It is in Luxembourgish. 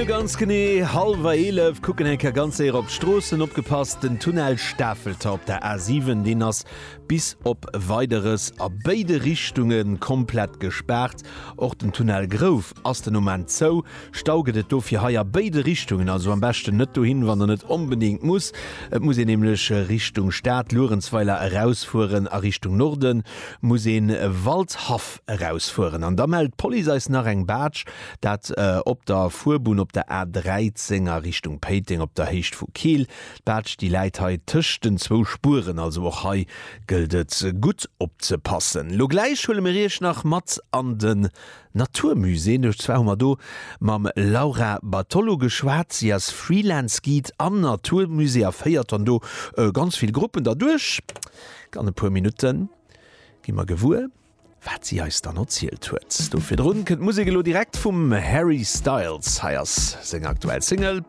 Mir hu ganz genee hallwer 11, kucken eng Kéier ganz séier op d'Stroossen. Opgepasst, den Tunnel Stafelter op der A7, deen ass bis op Weideres a béide Richtunge komplett gespaart. Och den Tunnel Grouf ass den Moment zou. Stau gëtt et dofir hei a béide Richtungen, also am beschten net dohin, wann der net onbedéngt muss. Et muss een nämlech Richtung Stad, Luerenzweiler erausfueren, a Richtung Norde muss een Waldhaff erausfueren. An da mellt d'Police eis nach eng Baatsch, dat op der Fuerbunn op der A 13 a Richtung Péiteng op der Héicht vu Keel. D'Baatsch déi läit hei tëscht den zwou Spueren, also och hei gëllt et gutt opzepassen. Lo gläich huele mir iech nach mat an den Naturmusée. Duerch zwar hu mer do mam Laura Bartolo geschwat. Si ass Freelance Guide am Naturmusée a féiert dann do ganz vill Gruppen derduerch. An e puer Minutte gi mer gewuer, wat si eis dann erzielt huet. Do virdrun kënnt d'Musek elo direkt vum Harry Styles. Hei ass seng aktuell Single.